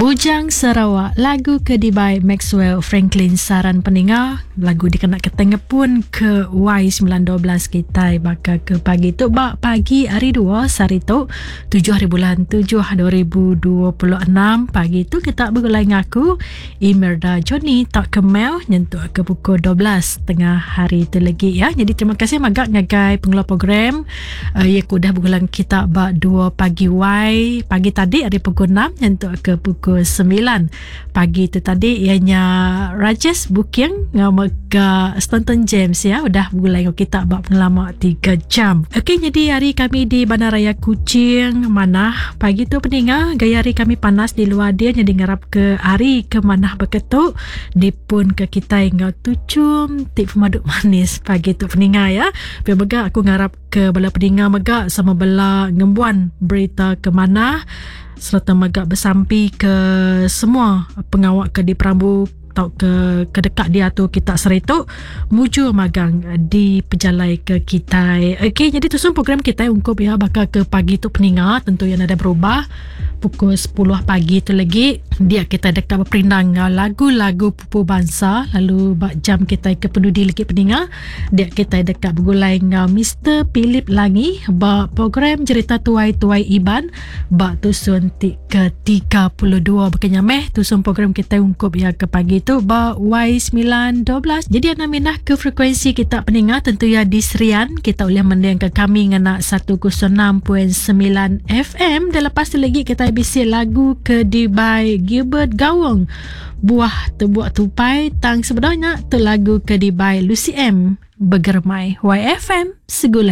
Bujang Sarawak, lagu ke dibai Maxwell Franklin Saran Peninga, lagu dikena kitai ngepun ke Y 912 kitai baka ke pagi tu ba pagi hari dua sehari tu tujuh hari bulan tujuh 2026 pagi tu kita begulai ngaku Imelda Johnny tauka Mel nyentuk ke pukul 12 tengah hari tu legi ya. Jadi terima kasih mega ngagai pengeluar program uh, ya ke udah begulai kita ba 2 pagi Y pagi tadi ari pukul 6 nyentuk ke pukul 9 pagi tu tadi ianya Rajesh Booking ngau mega Stanton James ya udah begulai ngau kita ba pengelama 3 jam. Okey jadi hari kami di Bandaraya Kuching manah pagi tu peninga gaya hari kami panas di luar dia jadi ngarap ke hari ke manah beketu dipun ke kitai enggau tuchum ti pemadu manis pagi tu peninga ya. Pia mega aku ngarap ke bala peninga mega sama bela ngembuan berita ke manah sereta mega besampi ke semua pengawa ke diperambu tauka ke deka diatur kita sehari tu mujur magang dipejalai ke kitai. Okey jadi tusun program kitai ungkup iya baka ke pagi tu peninga tentu iya nadai berubah. Pukul 10 pagi tu legi dia kitai deka beperindang enggau lagu-lagu pupu bansa lalu ba jam kitai ke penudi legi peninga dia kitai deka begulai enggau Mister Philip Langi ba program Jerita Tuai-Tuai Iban ba tusun ti ke 32 baka nya meh tusun program kitai ungkup iya ke pagi tu ba Y912. Jadi anda mindah ke frekuensi kita peninga tentu iya di Serian kita ulih mendingka kami ngena 106.9 FM dan lepas tu lagi kita bisi lagu ke dibai Gilbert Gawong Buah Tebuk Tupai tang sebenarnya tu lagu ke dibai Lucy M Begeremai YFM Segulai.